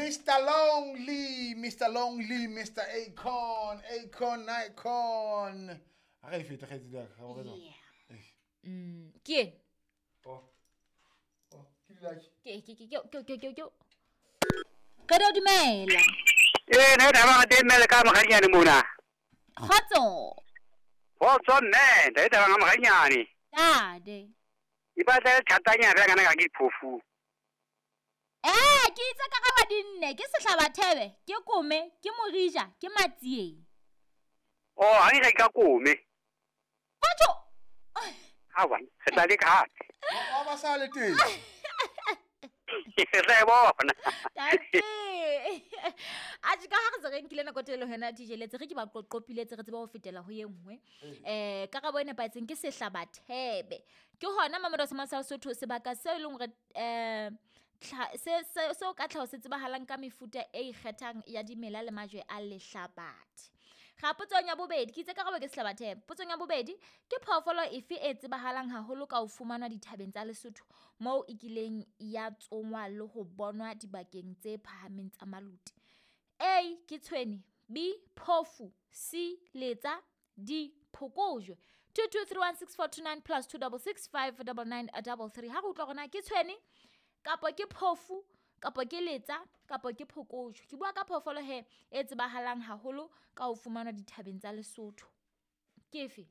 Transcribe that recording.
Mr. Lonely, Mr. Lonely, Mr. Akon, Akon, Nikon. A re e fete kgaitsedi ya ka, ga bo re Yeah. Ke eng? Oh. Oh, ke dilaki. Ke ke ke ke ke ke ke. Re do dumela. Ee, ne taba ga teng mme le ka mogadinyane mona. Kgotso. Kgotso mme, ntate taba ga mogadinyane. Tate. E batla e thatanyana fela kana ka ke phofu. Ee, ke itse karabo di nne, ke sehlabathebe, ke kome, ke morija, ke matsieng. Oh, ha ke ka kome. Batho. Awa, re tla leka hape. Wa ba sa le teng. Re tla e bona. Tate. Atjhe ka ha re se re nkile nako e telele ho yona DJ Letse, re ke ba qoqopiletse re tsebe ho fetela ho ye nngwe. Karabo e nepahetseng ke sehlabathebe. Ke hona Mamelodi sa sa Lesotho sebaka seo e leng hore seo ka tlhaho se tsebahalang ka mefuta e ikgethang ya dimela le majwe a lehlabathe. Ga potsong ya bobedi, ke itse karabo ke sehlabathebe. Potsong ya bobedi, ke phoofolo efe e tsebahalang haholo ka ho fumanwa dithabeng tsa Lesotho moo e kileng ya tsongwa le ho bonwa dibakeng tse phahameng tsa Maluti? A ke tshwene, B phofu, C letsa, D phokojwe. 22316429 plus 26659933. Ha re utlwa hore na ke tshwene kapo ke phofu kapo ke letsa kapo ke phokojwe. Ke bua ka phoofolo he e tsebahalang haholo ka ho fumanwa dithabeng tsa Lesotho. Ke efe?